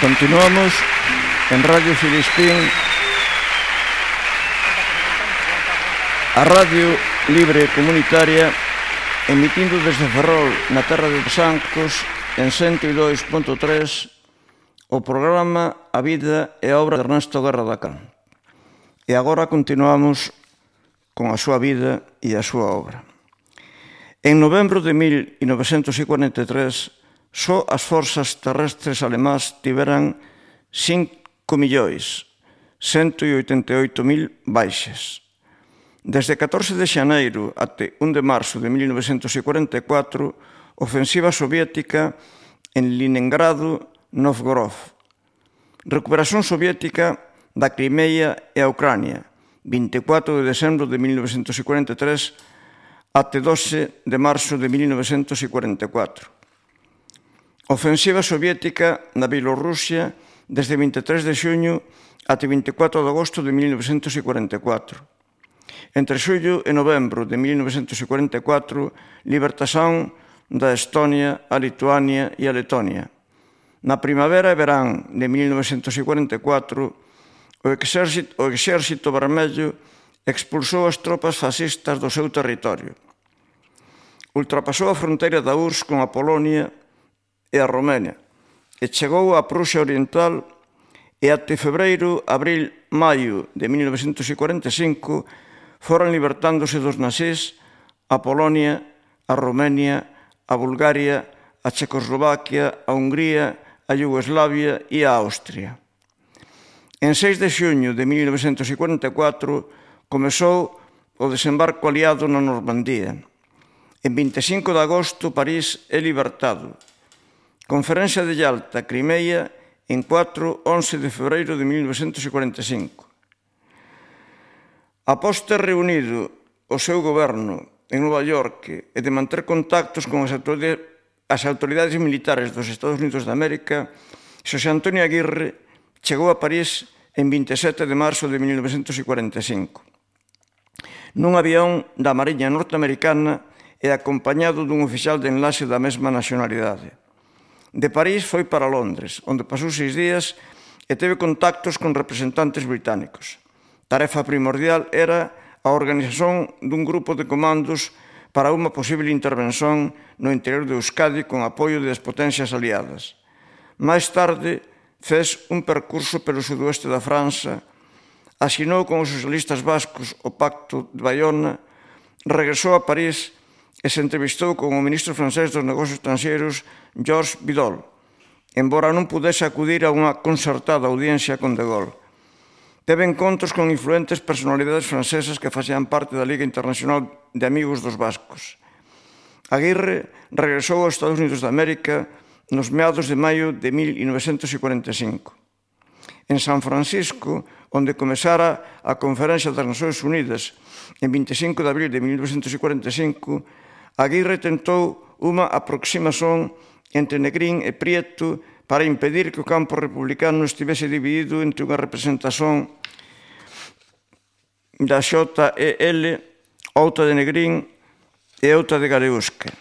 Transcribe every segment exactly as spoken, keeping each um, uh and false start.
Continuamos en Radio Filispín, a Radio Libre Comunitaria, emitindo desde Ferrol, na terra de Sancos, en cento e dois punto tres, o programa A Vida e a Obra de Ernesto Guerra da Can. E agora continuamos con a súa vida e a súa obra. En novembro de mil novecentos cuarenta e tres, só as forzas terrestres alemás tiveran cinco millóns cento e oitenta e oito mil baixas. Desde catorce de xaneiro até un de marzo de mil novecentos cuarenta e catro, ofensiva soviética en Leningrado, Novgorod. Recuperación soviética da Crimea e a Ucrania, vinte e catro de decembro de mil novecentos cuarenta e tres até doce de marzo de mil novecentos cuarenta e catro. Ofensiva soviética na Bielorrusia desde vinte e tres de xuño até vinte e catro de agosto de mil novecentos cuarenta e catro. Entre xullo e novembro de mil novecentos cuarenta e catro, libertación da Estonia, a Lituania e a Letonia. Na primavera e verán de mil novecentos cuarenta e catro, o exército, o exército vermello expulsou as tropas fascistas do seu territorio. Ultrapasou a fronteira da U R S S con a Polonia e a Romania, e chegou á Prusia Oriental, e até febreiro, abril, maio de mil novecentos cuarenta e cinco foran libertándose dos nazís a Polonia, a Romania, a Bulgaria, a Checoslovaquia, a Hungría, a Iugoslavia e a Austria. En seis de xuño de mil novecentos cuarenta e catro comezou o desembarco aliado na Normandía. En vinte e cinco de agosto, París é libertado. Conferencia de Yalta, Crimea, en catro a once de febreiro de mil novecentos cuarenta e cinco. Após ter reunido o seu goberno en Nova York e de manter contactos con as autoridades, as autoridades militares dos Estados Unidos de América, Xosé Antonio Aguirre chegou a París en vinte e sete de marzo de mil novecentos cuarenta e cinco. Nun avión da Mariña norteamericana e acompañado dun oficial de enlace da mesma nacionalidade. De París foi para Londres, onde pasou seis días e teve contactos con representantes británicos. Tarefa primordial era a organización dun grupo de comandos para unha posible intervención no interior de Euskadi con apoio das potencias aliadas. Máis tarde, fez un percurso pelo sudoeste da França, asinou con os socialistas vascos o Pacto de Bayona, regresou a París e se entrevistou con o ministro francés dos Negocios Estranxeiros, Georges Bidault, embora non pudese acudir a unha concertada audiencia con De Gaulle. Teve encontros con influentes personalidades francesas que facían parte da Liga Internacional de Amigos dos Vascos. Aguirre regresou aos Estados Unidos de América nos meados de maio de mil novecentos cuarenta e cinco. En San Francisco, onde comezara a Conferencia das Nações Unidas en vinte e cinco de abril de mil novecentos cuarenta e cinco, Aguirre tentou unha aproximación entre Negrín e Prieto para impedir que o campo republicano estivese dividido entre unha representación da X E L, outra de Negrín e outra de Galeusca.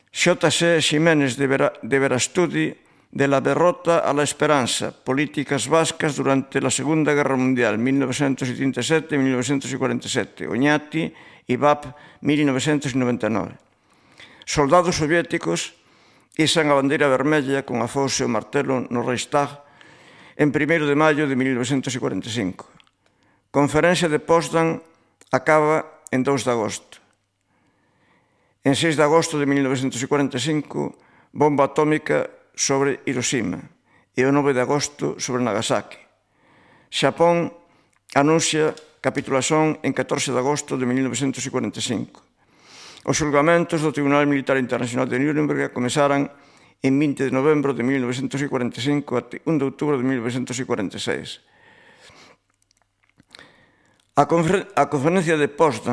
X C Ximénez de Verastudi, de la derrota a la esperanza, políticas vascas durante la Segunda Guerra Mundial, mil novecentos setenta e sete a mil novecentos cuarenta e sete, Oñati, I V A P, mil novecentos noventa e nove. Soldados soviéticos izan a bandeira vermella con a fose e o martelo no Reichstag en primeiro de maio de mil novecentos cuarenta e cinco. Conferencia de Potsdam acaba en dous de agosto. En seis de agosto de mil novecentos cuarenta e cinco, bomba atómica sobre Hiroshima e o nove de agosto sobre Nagasaki. Xapón anuncia capitulación en catorce de agosto de mil novecentos cuarenta e cinco. Os xulgamentos do Tribunal Militar Internacional de Nuremberg comezaran en vinte de novembro de mil novecentos cuarenta e cinco até un de outubro de mil novecentos cuarenta e seis. A conferencia de Potsdam